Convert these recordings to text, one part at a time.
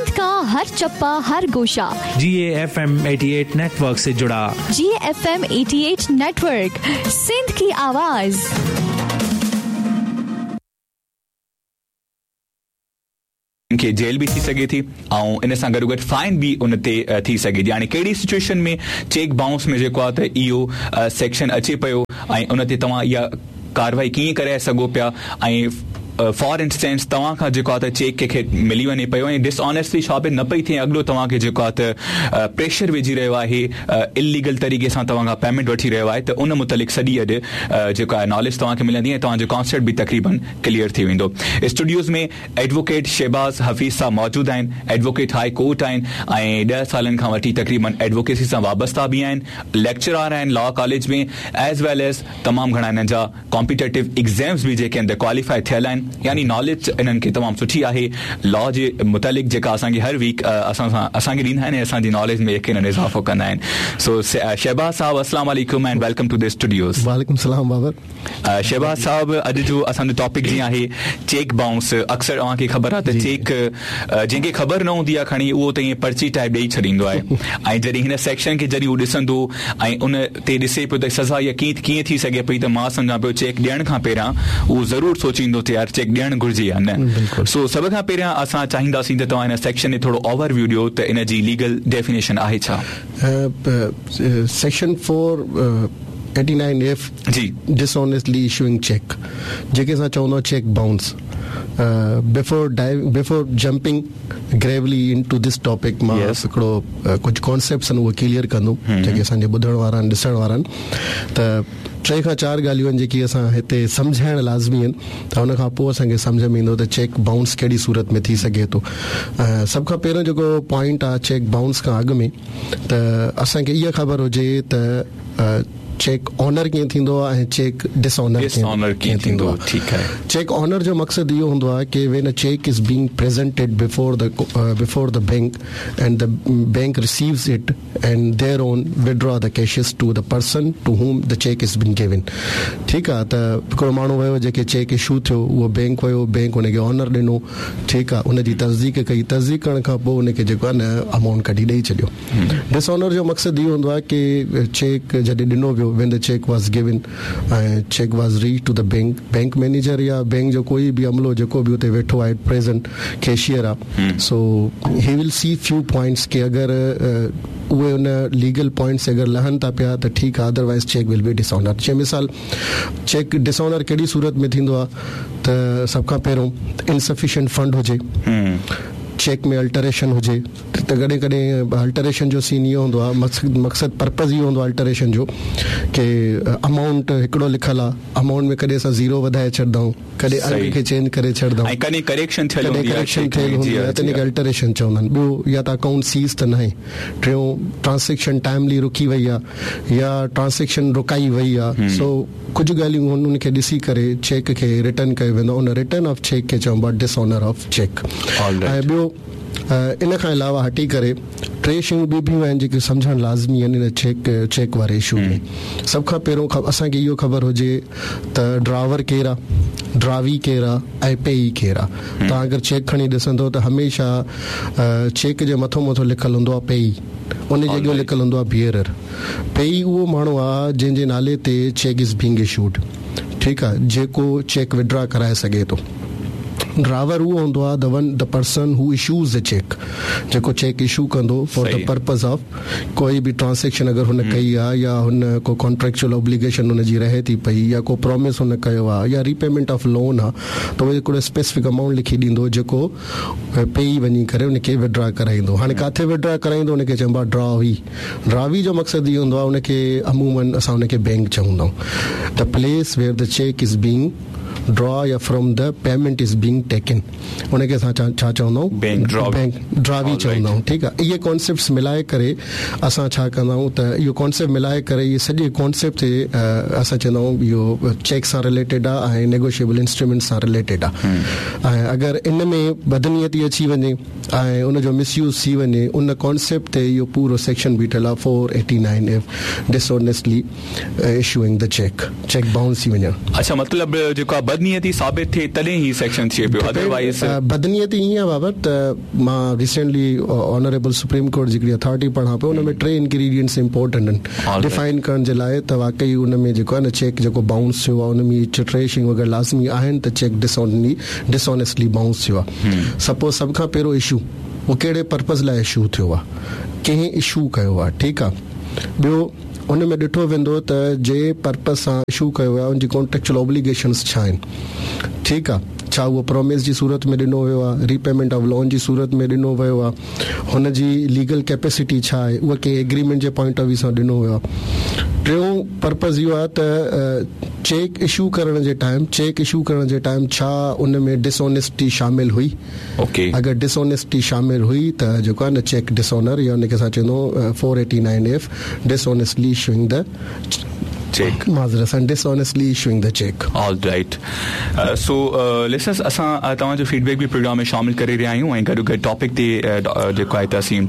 सिंध का हर चप्पा हर गोशा। जी एफ एम 88 नेटवर्क से जुड़ा। जी एफ एम 88 नेटवर्क, सिंध की आवाज़। खे जेल बि थी सघे थी ऐं इन सां गॾोगॾु फाइन बि उन ते थी सघे थी। हाणे कहिड़ी सिचुएशन में चेक बाउंस में जेको आहे त इहो सेक्शन अचे पियो ऐं उन ते तव्हां इहा कार्रवाई कीअं करे सघो पिया ऐं फॉर इंस्टेंस तव्हां खां जेको आहे त चेक कंहिंखे मिली वञे पियो ऐं डिसऑनेस्टली साबित न पई थिए, अॻिलो तव्हांखे जेको आहे त प्रेशर विझी रहियो आहे, इलीगल तरीक़े सां तव्हां खां पेमेंट वठी रहियो आहे, त उन मुतालिक़ सॼी अॼु जेको आहे नॉलेज तव्हांखे मिलंदी ऐं तव्हांजो कॉन्सेप्ट बि तक़रीबन क्लियर थी वेंदो। स्टूडियोज़ में एडवोकेट शहबाज़ हफ़ीज़ साहब मौजूदु आहिनि, एडवोकेट हाई कोर्ट आहिनि ऐं 10 सालनि खां वठी तक़रीबन एडवोकेसी सां वाबस्ता बि आहिनि, लेक्चरार आहिनि law college में, एज वेल एज तमामु घणा हिननि जा कॉम्पिटेटिव एग्ज़ाम्स बि जेके आहिनि त क्वालिफाई थियल आहिनि, यानी नॉलेज इन्हनि खे तमामु सुठी आहे लॉ जे मुतालिक़, जेका असांखे हर वीक असां सां असांखे ॾींदा आहिनि ऐं असांजी नॉलेज में यकीनन इज़ाफ़ो कंदा आहिनि। सो शहबाज़ साहब, अस्सलाम वालेकुम and welcome to the studios. वालेकुम सलाम बाबर। शहबाज़ साहब, अॼु जो असांजो टॉपिक जीअं आहे चेक बाउंस, अक्सर तव्हांखे ख़बर आहे त चेक जंहिंखे ख़बर न हूंदी आहे खणी उहो त ईअं पर्ची टाइप ॾेई छॾींदो आहे ऐं जॾहिं हिन सेक्शन खे जॾहिं हू ॾिसंदो ऐं उन ते ॾिसे पियो त सज़ा इहा कीअं थी सघे पई, त मां सम्झां पियो चेक ॾियण खां पहिरियां उहो ज़रूरु सोचींदो त यार चेक ॾियणु घुरिजे या न। सो सभ खां पहिरियां असां चाहींदासीं त तव्हां हिन सेक्शन ते थोरो ओवरव्यू ॾियो त इन जी लीगल डेफिनेशन आहे छा? सेक्शन 489 एफ जी डिसऑनेस्टली इशूइंग चेक, जेके असां चवंदा आहियूं cheque bounce. Before jumping gravely into this topic, मां हिकिड़ो कुझु कॉन्सेप्ट्स आहिनि उहे क्लियर कंदुमि जेके असांजे ॿुधण वारा आहिनि, ॾिसण वारा आहिनि। त टे खां चारि ॻाल्हियूं आहिनि जेकी असां हिते सम्झाइण लाज़मी आहिनि, त हुन खां पोइ असांखे सम्झ में ईंदो त चेक बाउंस कहिड़ी सूरत में थी सघे थो। सभ खां पहिरियों जेको पॉइंट आहे चेक बाउंस खां अॻु में, त असांखे इहा ख़बर हुजे त चेक ऑनर कीअं थींदो आहे ऐं चेक डिसऑनर डिसऑनर कीअं थींदो आहे। ठीकु आहे। चेक ऑनर जो मक़सदु इहो हूंदो आहे की when a cheque is being presented before the bank and the bank receives it and thereon withdraw the cashes to the person to whom the cheque is been given. ठीकु आहे, त हिकिड़ो माण्हू वियो, जेके चेक इशू थियो, उहो bank वियो, बैंक हुनखे ऑनर ॾिनो, ठीकु आहे, हुनजी तस्दीक कई, तस्दीक करण खां पोइ हुनखे जेको आहे न अमाउंट कढी ॾेई छॾियो। डिसऑनर जो मक़सदु इहो हूंदो आहे की चेक जॾहिं ॾिनो वियो, when the cheque was given ऐं cheque was reach to the bank, bank manager या बैंक जो कोई बि अमलो जेको बि उते वेठो आहे, प्रेजेंट कैशियर आहे, so he will see few points के अगरि उहे उन लीगल पॉइंट्स अगरि लहनि था पिया त ठीकु आहे, otherwise cheque will be dishonour. जीअं मिसाल, चेक डिसऑनर कहिड़ी सूरत में थींदो आहे त सभ खां पहिरियों इनसफिशिएंट फंड हुजे, चेक में अल्टरेशन हुजे, त कॾहिं कॾहिं अल्टरेशन जो सीन इहो हूंदो आहे, मक़सदु पर्पज़ इहो हूंदो आहे अल्टरेशन जो की अमाउंट हिकिड़ो लिखियलु आहे, अमाउंट में कॾहिं असां ज़ीरो वधाए छॾंदा आहियूं, कॾहिं अंग खे चेंज करे छॾंदा आहियूं, कॾहिं करेक्शन थियल कॾहिं हूंदी आहे करेक्शन check थियल में, हूंदी आहे, त हिनखे अल्टरेशन चवंदा आहिनि। ॿियो या त अकाउंट सीज़ त न आहे, टियों ट्रांज़ेक्शन टाइमली रुकी वई आहे या ट्रांज़ेक्शन रुकाई वई आहे। सो कुझु ॻाल्हियूं हुननि खे ॾिसी करे चेक खे रिटर्न कयो वेंदो आहे, उन रिटर्न ऑफ चेक खे चइबो आहे डिसऑनर ऑफ चेक। ऐं ॿियो इन खां अलावा हटी करे टे शयूं ॿियूं बि आहिनि जेके सम्झणु लाज़मी आहिनि इन चेक वारे इशू में। सभ खां पहिरियों असांखे इहो ख़बर हुजे त ड्रावर केरु आहे, ड्रावी केरु आहे ऐं पेई केरु आहे। तव्हां अगरि चेक खणी ॾिसंदो त हमेशह चेक जे मथो मथो लिखियलु हूंदो आहे पेई, उन जे अॻियां लिखियलु हूंदो आहे बियरर। पेई उहो माण्हू आहे जंहिंजे नाले ते चेक is being issued, ठीकु आहे, जेको चेक विड्रा कराए सघे थो। ड्रावर उहो हूंदो आहे the person who issues the cheque, जेको चेक इशू कंदो फॉर the purpose of कोई बि ट्रांज़ेक्शन अगरि हुन कई आहे या हुन को कॉन्ट्रेक्चुअल ऑब्लिगेशन हुनजी रहे थी पई या को प्रॉमिस हुन कयो आहे या रीपेमेंट ऑफ लोन आहे, त उहो हिकिड़ो स्पेसिफिक अमाउंट लिखी ॾींदो जेको पेई वञी करे हुनखे विड्रा कराईंदो। हाणे किथे विड्रा कराईंदो हुनखे चइबो आहे ड्रावी। ड्रावी जो मक़सदु इहो हूंदो आहे, हुनखे अमूमन असां हुनखे बैंक चवंदा आहियूं, the place where the cheque is being draw या from the payment is being taken, उनखे असां छा चवंदा आहियूं? Bank draw. बैंक ड्रावी चवंदा आहियूं, ठीकु आहे। इहे कॉन्सेप्ट्स मिलाए करे असां छा कंदा आहियूं त इहो कॉन्सेप्ट मिलाए करे इहे सॼे कॉन्सेप्ट ते असां चवंदा आहियूं इहो चेक सां रिलेटेड आहे ऐं नेगोशिएबल इंस्ट्रूमेंट सां रिलेटेड आहे। ऐं अगरि इन में बदनीयती अची वञे ऐं उनजो मिसयूज़ थी वञे, उन कॉन्सेप्ट ते इहो पूरो सेक्शन बीठल आहे 489 F, dishonestly issuing the cheque, cheque bounce थी वञण। अच्छा, मतिलबु जेको आहे آهي بدنيتي ثابت ٿئي تڏهن هي سيڪشن ٿئي پيو اदروائيز. بدنيتي ائين آهي بابر ته مان ريسينٽلي آنريبل سپريم ڪورٽ جي هڪڙي اٿارٽي پڙهان پيو ان ۾ ٽي انگريڊينٽس امپورٽنٽ آهن ڊفائن ڪرڻ جي لاء ته واقعي ان ۾ جيڪو آهي نه چيڪ جيڪو بائونس ٿيو آهي ان ۾ اهي ٽي شيون اگر لازمي آهن ته چيڪ ڊسآنيسٽلي بائونس ٿيو آهي سپوز سڀ کان پهريون اشو اهو ڪهڙي پرپز لاء اشو ٿيو آهي ڪنهن اشو ڪيو آهي ٺيڪ آهي ٻيو ان ۾ ڏٺو ويندو ته جنهن پرپز سان اشو ڪيو ويو آهي ان جي ڪانٽريڪچوئل اوبليگيشنز ڇا آهن ٺيڪ آهي ڇا اهو پروميس جي صورت ۾ ڏنو ويو آهي ري پيمينٽ آف لون جي صورت ۾ ڏنو ويو آهي هن جي ليگل ڪيپيسٽي ڇا آهي اها ڪنهن ايگريمينٽ جي پوائنٽ آف ويو سان ڏنو ويو آهي ٽيون پرپز اهو آهي ته چيڪ اشو ڪرڻ جي ٽائيم چيڪ اشو ڪرڻ جي ٽائيم ڇا ان ۾ ڊس آنيسٽي شامل هئي اوڪي. اگر ڊس آنيسٽي شامل هئي ته جيڪو آهي نه چيڪ ڊس آنر يا ان کي اسان چوندو 489 F dishonestly issuing the check معذرت سان dishonestly issuing the check. All right so listeners اسان توهان جو فيڊ بيڪ به پروگرام ۾ شامل ڪري رهيا آهيون ۽ گڏو گڏ ٽاپڪ تي جيڪو آهي ته اسين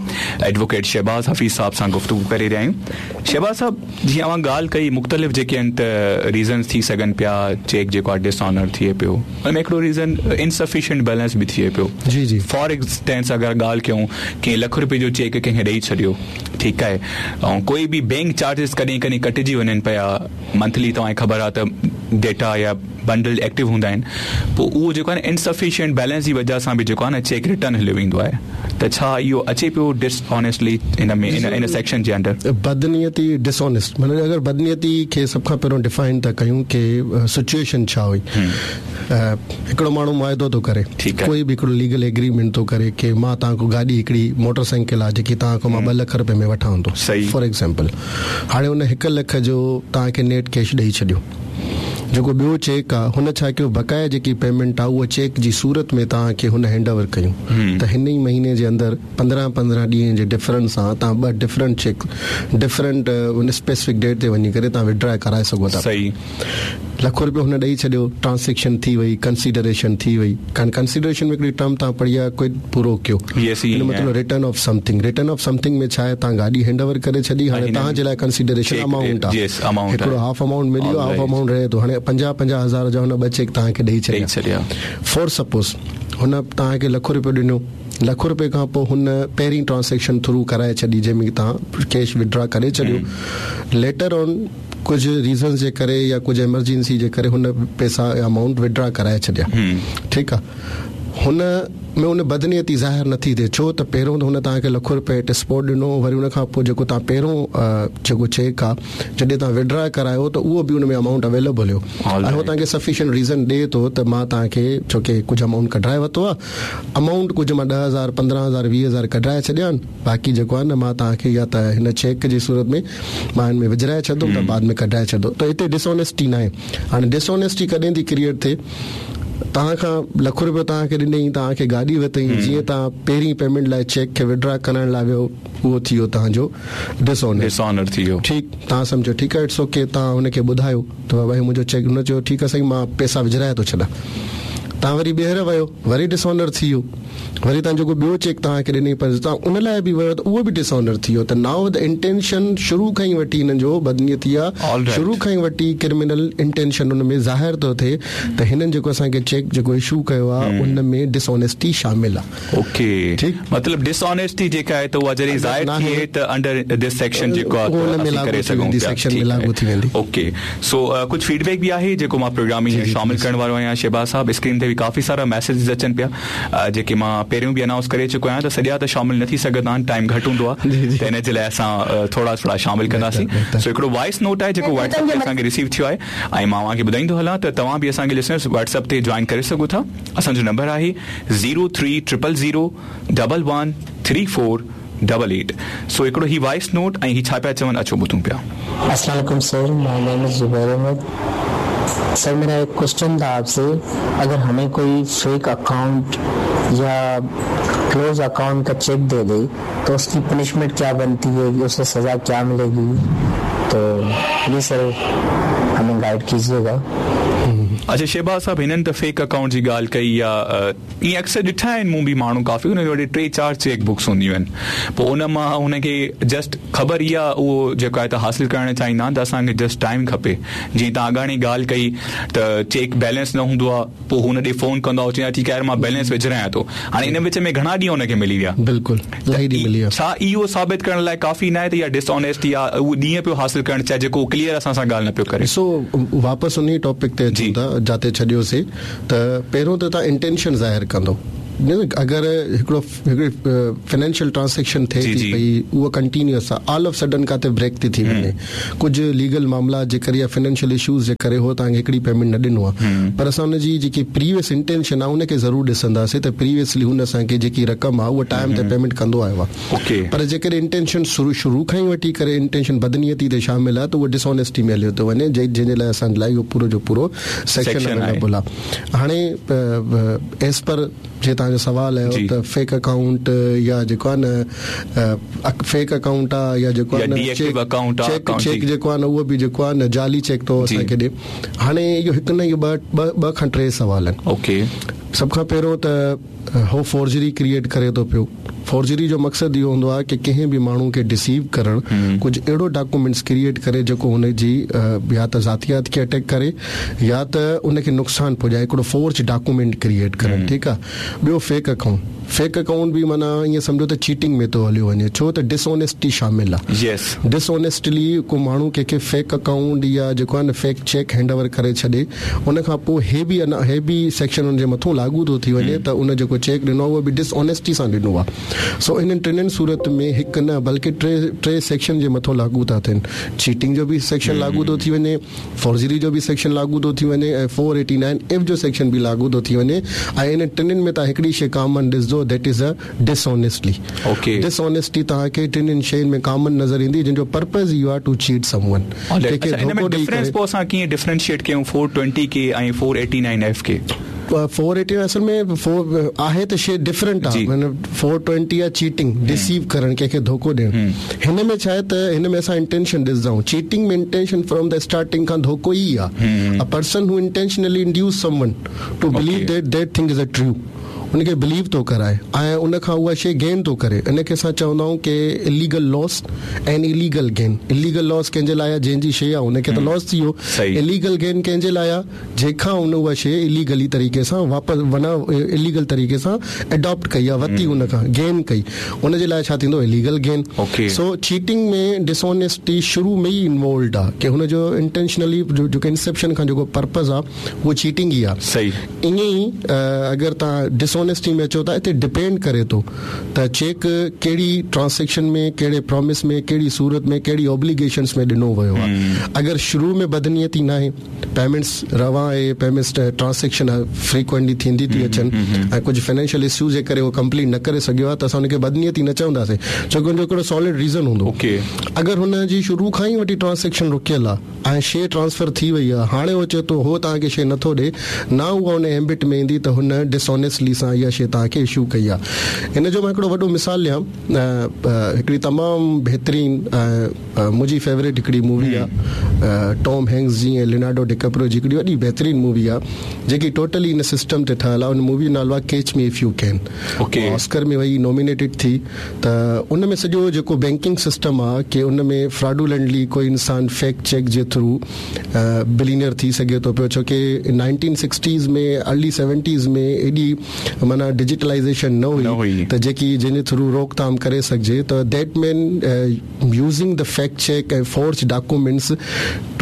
ايڊووڪيٽ شهباز حفيظ صاحب سان گفتگو ڪري رهيا آهيون شهباز صاحب جيئن اوهان ڳالهه ڪئي مختلف جيڪي آهن ته ريزنز ٿي سگهن پيا چيڪ جيڪو آهي ڊس آنر ٿئي پيو ان ۾ هڪڙو ريزن انسفيشنٽ بيلنس به ٿئي پيو جي جي فار انسٽنس اگر ڳالهه ڪيون ڪنهن لک روپي جو چيڪ ڪنهن کي ڏئي ڇڏيو ٺيڪ آهي ۽ ڪوئي به بينڪ چارجز ڪڏهن ڪڏهن ڪٽجي وڃن پيا منٿلي توهان کي خبر آهي ته ڊيٽا يا بنڊل ايڪٽو هوندا آهن پوء اهو جيڪو آهي نه انسفيشنٽ بيلنس جي وجه سان به جيڪو آهي نه چيڪ ريٽرن هليو ويندو آهي ته ڇا اهو اچي پيو ڊس آنيسٽلي ان ۾ ان سيڪشن جي انڊر. بدنيتي ڊس آنيسٽ معنيٰ اگر بدنيتي کي سڀ کان پهريون ڊفائن ٿا ڪيون ڪي سچوئيشن ڇا هئي هڪڙو ماڻهو معاهدو ٿو ڪري ڪوئي به هڪڙو ليگل ايگريمينٽ ٿو ڪري ڪي مان توهان کان گاڏي هڪڙي موٽر سائيڪل آهي جيڪي توهان کان مان ٻه لک روپئي ۾ وٺان ٿو فار ايگزامپل هاڻي ان هڪ لک جو توهان کي نيٽ ڪيش ڏئي ڇڏيو جيڪو ٻيو چيڪ آ هن ڇا ڪيو بقايا جيڪي پيمينٽ آ اها چيڪ جي صورت ۾ توهان کي هن هينڊ اوور ڪيون ته هن ئي مهيني جي اندر 15 15 ڏينهن جي ڊفرنس سان توهان ٻه ڊفرنٽ چيڪ ڊفرنٽ ان اسپيسفڪ ڊيٽ تي وڃي ڪري توهان وڊرا ڪرائي سگهو ٿا لک روپيو هن ڏئي ڇڏيو ٽرانسيڪشن ٿي وئي ڪنسيڊريشن ٿي وئي ڪنسيڊريشن ۾ هڪڙي ٽرم توهان پڙهي آ ڪوئڊ پرو ڪيو ان مطلب return of something return of something ۾ ڇا آهي توهان گاڏي هينڊ اوور ڪري ڇڏي هاڻي توهان جي لاء ڪنسيڊريشن امائونٽ آهي هڪڙو هاف امائونٽ ملي ويو هاف امائونٽ رهي ٿو هاڻي پنجاهه پنجاهه هزار جا هن ٻه چيڪ توهان کي ڏئي ڇڏيا فار سپوز هن توهان کي لک روپيو ڏنو لک روپئي کان پوء هن پهرين ٽرانسيڪشن ٿرو ڪرائي ڇڏي جنهن ۾ توهان ڪيش وڊرا ڪري ڇڏيو ليٽر آن ڪجهه ريزنز جي ڪري يا ڪجهه ايمرجنسي جي ڪري هن پيسا يا امائونٽ وڊرا ڪرائي ڇڏيا ٺيڪ آ هن ۾ ان بدنيتي ظاهر نٿي ٿئي ڇو ته پهريون ته هن توهان کي لک روپئي ايٽ اسپاٽ ڏنو وري ان کان پوء جيڪو توهان پهريون جيڪو چيڪ آ جڏهن توهان وڊرا ڪرايو ته اهو به ان ۾ امائونٽ اويليبل هيو ۽ هو توهان کي سفيشنٽ ريزن ڏئي ٿو ته مان توهان کي ڇو ڪي ڪجهه امائونٽ ڪڍرائي ورتو آ امائونٽ ڪجهه مان ڏهه هزار پندرهن هزار ويهه هزار ڪڍرائي ڇڏيا آهن باقي جيڪو آهي نه مان توهان کي يا ته هن چيڪ جي صورت ۾ مان هن ۾ وجهرائي ڇڏندم ته بعد ۾ ڪڍرائي ڇڏندو ته هتي ڊس آنيسٽي ناهي هاڻي ڊس آنيسٽي ڪڏهن ٿي ڪريئيٽ ٿئي توهان کان لک روپيو توهان کي ڏنئي توهان کي گاڏي ورتئي جيئن توهان پهرين پيمينٽ لاء چيڪ کي وڊرا ڪرڻ لاء ويو اهو ٿي ويو توهان جو ڊس آنر آنر ٿي ويو ٺيڪ توهان سمجهو ٺيڪ آهي it's okay توهان هن کي ٻڌايو ته بابا هي منهنجو چيڪ هن چيو ٺيڪ آهي سائين مان پيسا وجهرائي ٿو ڇڏان توهان وري ٻيهر ويو وري ڊس آنر ٿي ويو وري توهان جيڪو ٻيو چيڪ توهان کي ڏنئي پر توهان ان لاء به ويو ته اهو به ڊس آنر ٿي ويو ته نائو the intention شروع کان ئي وٺي هنن جو بدنيتي آهي شروع کان ئي وٺي ڪرمنل انٽينشن ان ۾ ظاهر ٿو ٿئي ته هنن جيڪو اسان کي چيڪ جيڪو اشو ڪيو آهي ان ۾ ڊس آنيسٽي شامل آهي. اوڪي ٺيڪ مطلب ڊس آنيسٽي جيڪا آهي ته اها جڏهن ظاهر ٿئي ته انڊر this section جيڪو آهي ته اسين ڪري سگهون پيا سيڪشن ۾ لاڳو ٿي ويندي. اوڪي سو ڪجهه فيڊ بيڪ به آهي جيڪو مان پروگرام ۾ شامل ڪرڻ وارو آهيان شهباز صاحب اسڪرين تي به ڪافي سارا ميسيجز اچن پيا جيڪي مان پهريون به انائونس ڪري چڪو آهيان ته سڄا ته شامل نه ٿي سگهندا آهن ٽائيم گهٽ هوندو آهي ته ان جي لاء اسان ٿورا ٿورا شامل ڪنداسين سو هڪڙو وائس نوٽ آهي جيڪو واٽس اپ تي اسان کي رسيو ٿيو آهي ۽ مان اوهان کي ٻڌائيندو هلان ته توهان به اسان کي لسنرز واٽس اپ تي جوائن ڪري سگهو ٿا اسان جو نمبر آهي zero three triple zero double one three four double eight سو هڪڙو هي وائس نوٽ ۽ هي ڇا پيا چون اچو ٻڌون پيا. السلام عليڪم sir my name is Zubair Ahmed sir ميرا ايڪ ڪوئسچن ٿا آپ سي اگر ھمين ڪوئي فيڪ اڪائونٽ يا ڪلوز اڪائونٽ ڪا چيڪ the the تو اس ڪي پنشمينٽ ڪيا بنتي ھي اسي سزا ڪيا ملي گي تو پليز سر ھمين گائيڊ ڪيجئي گا. اڇا شهباز صاحب هنن ته فيڪ اڪائونٽ جي ڳالهه ڪئي يا ائين اڪثر ڏٺا آهن مون به ماڻهو ڪافي انهن وٽ ٽي چار چيڪ بڪس هونديون آهن پوء ان مان هن کي جسٽ خبر اها اهو جيڪو آهي ته حاصل ڪرڻ چاهيندا آهن ته اسان کي جسٽ ٽائيم کپي جيئن توهان اڳاڻي ڳالهه ڪئي ته چيڪ بيلنس نه هوندو آهي پوء هن ڏي فون ڪندو آهي چوندو آهي ٺيڪ آهي يار مان بيلنس وجهرايان ٿو هاڻي ان وچ ۾ گهڻا ڏينهن هن کي ملي ويا. بلڪل الاهي ڏينهن ملي ويا. ڇا اهو ثابت ڪرڻ لاء ڪافي ناهي ته اها ڊس آنيسٽي آهي اهو ڏينهن پيو حاصل ڪرڻ چاهي جيڪو ڪليئر اسان سان ڳالهه نه پيو ڪري. ڏسو واپس انهي ٽاپڪ تي اچون ٿا جاتي ڇڏيوسي ته پهريون ته توهان انٽينشن ظاهر ڪندو اگر هڪڙو هڪڙي فنانشل ٽرانسيڪشن ٿئي ٿي پئي اها ڪنٽينيوس آهي آل آف سڊن ڪاٿي بريڪ ٿي ٿي وڃي ڪجهه ليگل معاملات جي ڪري يا فنانشل اشوز جي ڪري هو توهان کي هڪڙي پيمينٽ نه ڏنو آهي پر اسان ان جي جيڪي پريويس انٽينشن آهي ان کي ضرور ڏسنداسين ته پريويسلي هن اسان کي جيڪي رقم آهي اها ٽائيم تي پيمينٽ ڪندو آيو آهي پر جيڪڏهن انٽينشن شروع کان ئي وٺي ڪري انٽينشن بدنيتي تي شامل آهي ته اهو ڊس آنيسٽي ۾ هليو ٿو وڃي جنهن جي لاء اسان لاء اهو پورو جو پورو سيڪشن اويليبل آهي هاڻي ايز پر جي توهان جو سوال آيو ته فيڪ اڪائونٽ يا جيڪو آهي نه فيڪ اڪائونٽ آهي يا جيڪو آهي نه چيڪ چيڪ جيڪو آهي نه اهو به جيڪو آهي نه جعلي چيڪ ٿو اسان کي ڏي هاڻي اهو هڪ نه اهو ٻه ٻه کان ٽي سوال آهن اوڪي سڀ کان پهريون ته هو فورجري ڪريئيٽ ڪري ٿو پيو فورجري جو مقصد اهو هوندو آهي ڪي ڪنهن به ماڻهو کي ڊسيو ڪرڻ ڪجهه اهڙو ڊاڪومينٽس ڪريئيٽ ڪري جيڪو هن جي يا ته ذاتيات کي اٽيڪ ڪري يا ته ان کي نقصان پڄائي هڪڙو فورج ڊاڪومينٽ ڪريئيٽ ڪرڻ ٺيڪ آهي ٻيو فيڪ اڪائونٽ فيڪ اڪائونٽ به معنيٰ ائين سمجهو ته چيٽنگ ۾ ٿو هليو وڃي ڇو ته ڊس آنيسٽي شامل آهي ڊس آنيسٽلي ڪو ماڻهو ڪنهن کي فيڪ اڪائونٽ يا جيڪو آهي نه فيڪ چيڪ هينڊ اوور ڪري ڇڏي ان کان پوء هي به انا هي به سيڪشن ان جي مٿون لاڳو ٿو ٿي وڃي ته ان جيڪو چيڪ ڏنو آهي اهو به ڊس آنيسٽي سان ڏنو آهي سو انهن ٽنهن صورت ۾ هڪ نه بلڪه ٽي ٽي سيڪشن جي مٿون لاڳو ٿا ٿين چيٽنگ جو به سيڪشن لاڳو ٿو ٿي وڃي فورجري جو به سيڪشن لاڳو ٿو ٿي وڃي ۽ فور ايٽي نائن ايف جو سيڪشن به لاڳو ٿو ٿي وڃي ۽ انهن ٽنهن ۾ توهان هڪڙي شي ڪامن ڏسندو that is a dishonestly dishonesty توهان کي ٽنهن شين ۾ ڪامن نظر ايندي جنهن جو پرپز اهو آهي ٽو چيٽ سم ون ڪنهن کي ڌوڪو ڏئي ڪري. پوء اسان ڪيئن ڊفرينشيئيٽ ڪيون فور ٽوئنٽي کي ۽ فور ايٽي نائن ايف کي؟ فور ايٽي نائن اصل ۾ فور آهي ته شي ڊفرنٽ آهي معنيٰ فور ٽوئنٽي آهي چيٽنگ ڊسيو ڪرڻ ڪنهن کي ڌوڪو ڏيڻ هن ۾ ڇا آهي ته هن ۾ اسان انٽينشن ڏسندا آهيون cheating ۾ intention from the starting کان ڌوڪو ئي آهي a person who intentionally induce someone to believe that that thing is a true ان کي بليو ٿو ڪرائي ۽ ان کان اها شي گين ٿو ڪري ان کي اسان چوندا آهيون ڪي illegal loss ۽ illegal gain illegal loss ڪنهن جي لاء آهي جنهن جي شي آهي ان کي ته لاس ٿي ويو اليگل گين ڪنهن جي لاء آهي جنهن کان ان اها شي اليگلي طريقي سان واپس معنيٰ اليگل طريقي سان اڊاپٽ ڪئي آهي ورتي ان کان گين ڪئي ان جي لاء ڇا ٿيندو اليگل گين سو چيٽنگ ۾ ڊس آنيسٽي شروع ۾ ئي انوالوڊ آهي ڪي هن جو انٽينشنلي جيڪو انسيپشن کان جيڪو پرپز آهي اهو چيٽنگ ئي آهي ائين ئي اگر توهان ڊس آنيسٽي ۾ اچو ٿا اتي ڊپينڊ ڪري ٿو ته چيڪ ڪهڙي ٽرانسيڪشن ۾ ڪهڙي پرامس ۾ ڪهڙي صورت ۾ ڪهڙي اوبليگيشنس ۾ ڏنو ويو آهي اگر شروع ۾ بدنيتي ناهي پيمينٽس روان آهي پيمينٽس ٽرانسيڪشن فريڪوئنٽلي ٿيندي ٿي اچن ۽ ڪجهه فنانشل اشوز جي ڪري اهو ڪمپليٽ نه ڪري سگهيو آهي ته اسان ان کي بدنيتي نه چونداسين ڇو ڪه ان جو هڪڙو سالڊ ريزن هوندو اگر هن جي شروع کان ئي وٺي ٽرانسيڪشن رڪيل آهي ۽ شي ٽرانسفر ٿي وئي آهي هاڻي هو چئي ٿو هو توهان کي شي نٿو ڏي نه اها ان ايمبٽ ۾ ايندي ته هن ڊس آنيسٽلي سان اها شي توهان کي اشو ڪئي آهي ان جو مان هڪڙو وڏو مثال ڏيان هڪڙي تمام بهترين منهنجي فيوريٽ هڪڙي مووي آ ٽام هينڪس جي ۽ لينارڊو ڊيڪپريو جي هڪڙي وڏي بهترين مووي آ جيڪي ٽوٽلي ان سسٽم تي ٺهيل آ ان مووي جو نالو آ Catch Me If You Can Oscar ۾ وئي نومينيٽيڊ ٿي ته ان ۾ سڄو جيڪو بينڪنگ سسٽم آ ڪي ان ۾ فراڊولنٽلي ڪوئي انسان فيڪ چيڪ جي ٿرو بلينئر ٿي سگهي ٿو پيو ڇو ڪي نائنٽين سڪسٽيز ۾ ارلي سيونٽيز ۾ ايڏي معنيٰ ڊجيٽلائيزيشن نه هئي ته جيڪي جنهن جي ٿرو روڪٿام ڪري سگهجي ته that man using the fake cheque ۽ forge documents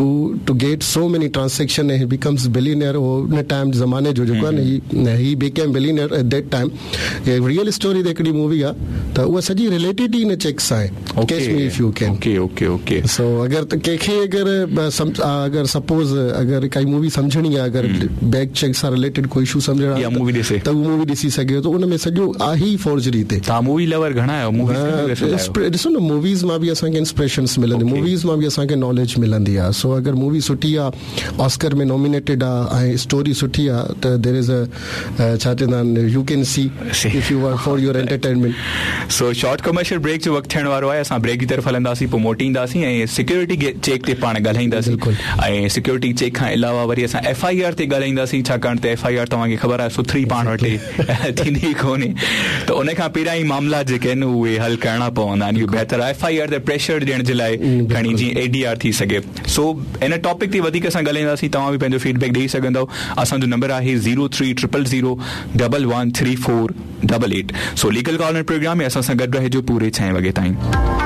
to to get so many transaction ۽ he becomes billionaire هو ان ٽائيم زماني جو جيڪو آهي نه he became billionaire at that time he real story تي هڪڙي مووي آهي ته اها سڄي رليٽيڊ ئي ان چيڪ سان آهي Catch Me If You Can okay okay okay so اگر ڪنهن کي اگر اگر سپوز اگر ڪائي مووي سمجهڻي آهي اگر بينڪ چيڪ سان رليٽيڊ ڪوئي اشو سمجهڻو آهي ته اها مووي ڏسي. ڏسي سگهي ٿو ان ۾ سڄو آهي ئي فورجري تي. توهان مووي لور گهڻا آهيو موويز گهڻيون ڏسندا آهيو؟ ڏسو نه موويز مان به اسان کي انسپريشنس ملندي موويز مان به اسان کي ناليج ملندي آهي سو اگر مووي سٺي آهي آسڪر ۾ نومينيٽيڊ آهي ۽ اسٽوري سٺي آهي ته دير از ا ڇا چوندا آهن you can see if you want for your entertainment. So short commercial break جو وقت ٿيڻ وارو آهي اسان بريڪ جي طرف هلنداسين پوء موٽي اينداسين ۽ سيڪيورٽي چيڪ تي پاڻ ڳالهائينداسين ۽ سيڪيورٽي چيڪ کان علاوه وري اسان ايف I R تي ڳالهائينداسين ڇاڪاڻ ته ايف I R توهان کي خبر آهي سٿري پاڻ وٽ ٿيندي ڪونهي ته ان کان پهريان ئي معاملا جيڪي آهن اهي حل ڪرڻا پوندا آهن اهو بهتر آهي ايف I R تي پريشر ڏيڻ جي لاء کڻي جيئن اي ڊي آر ٿي سگهي سو ان ٽاپڪ تي وڌيڪ اسان ڳالهائينداسين توهان به پنهنجو فيڊ بيڪ ڏئي سگهندؤ اسان جو نمبر آهي zero three triple zero double one three four double eight so legal corner programme ۾ اسان سان گڏ رهجو پوري ڇهين وڳي تائين.